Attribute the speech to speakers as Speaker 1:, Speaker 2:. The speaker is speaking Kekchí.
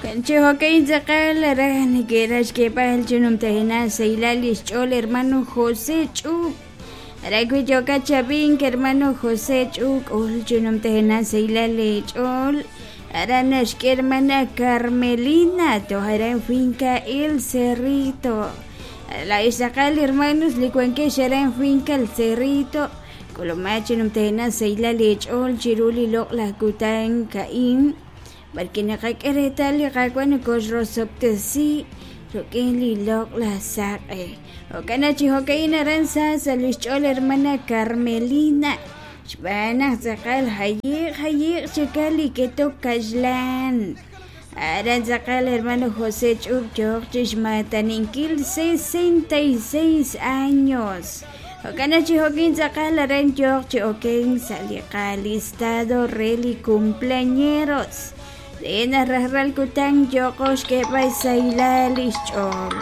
Speaker 1: Chi jo'ka'in tz'aqal raj neke'raj xk'eeb'al chi numtajenaq xsahilal li xch'ool hermano José Ch'up. Aran wi yookat chi ab'ink hermano José Ch'up k'ul chi numtajenaq xsahilal leech'ool. Aran naxk'e hermana Carmelina toj aran finca El Cerrito. Laa'ex tz'aqal hermanos li wankex aran finca El Cerrito k'ulumaq chi numtajenaq xsahilal leech'ool chiru li loq'laj kutan ka'in. B'arwi' naqak'e reetal li Qaawa' nokoxrosob'tesi rik'in li loq'laj saq'e. Jo'kan naq chi jo'ka'in aran sa sa' li xch'ool hermana Carmelina, xb'aan naq tz'aqal jayiq jayiq chikal li ketok kaxlan. Aran tz'aqal hermano José Ch'up yooq chi xmaataninkil 66 años. Jo'kan naq chi jo'kin tz'aqal aran yooq chi okenk sa' li qalistado re li cumpleañeros re naq rajlal kutan yooqo xk'eeb'al xsahilal li xch'ool.